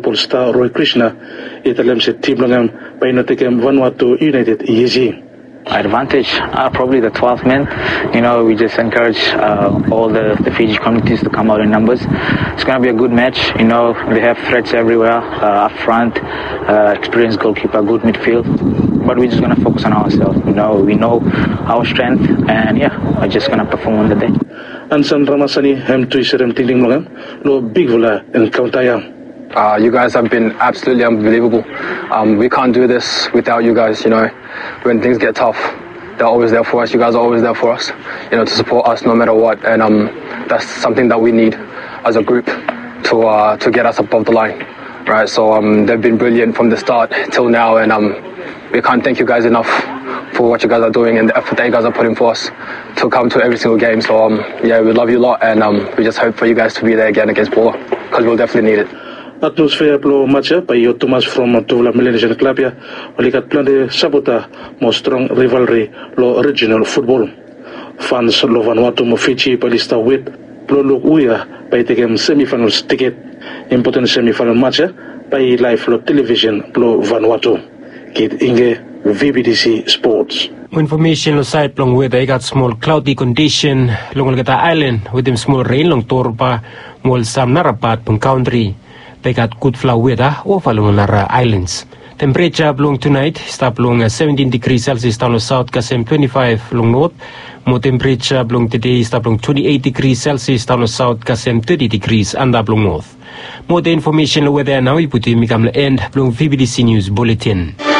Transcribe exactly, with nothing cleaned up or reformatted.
Polstar Roy Krishna i talem se tim blong hem bae i no tekem Vanuatu United isi. Advantage, uh, probably the twelfth man. You know, we just encourage uh, all the, the Fiji communities to come out in numbers. It's going to be a good match. You know, they have threats everywhere, uh, up front, uh, experienced goalkeeper, good midfield. But we're just going to focus on ourselves. You know, we know our strength, and yeah, we're just going to perform on the day. Ansan Ramasani hem tu i serem tingting blong hem lo bigfala encounter ya. Uh, you guys have been absolutely unbelievable. Um, we can't do this without you guys, you know. When things get tough, they're always there for us. You guys are always there for us, you know, to support us no matter what. And um, that's something that we need as a group to uh, to get us above the line, right? So um, they've been brilliant from the start till now, and um, we can't thank you guys enough for what you guys are doing and the effort that you guys are putting for us to come to every single game. So um, yeah, we love you a lot, and um, we just hope for you guys to be there again against Palau because we'll definitely need it. Atmosfea blong match ya bae i hot tumas from tufala Melanesian klab ya oli gat plante sapota mo strong rivalry lo regional futbol. Fans lo Vanuatu mo Fiji bae oli stap wet blong luk hu ya bae i tekem semifinals tiket. Impoten semifinal match ya bae i laev lo television blo Vanuatu. Kit Inge, VBTC Sports. Mo infomesen lo saed blong weta, i gat smol klaodi kondisen long olgeta aelan wetem smol ren long Torba mo ol sam nara pat blong kantri. Bae i gat gudfala weta ova long ol nara aelans. Tempereja blong tunaet i stap long seventin digri Celsius daon long saot kasem twenti faef long not. Mo tempereja blong tede i stap long twenti eit digri Celsius daon long saot kasem teti digris antap long not. Moa infomesen long weta ya nao i putum i kam long en blong VBTC Nius Buletin.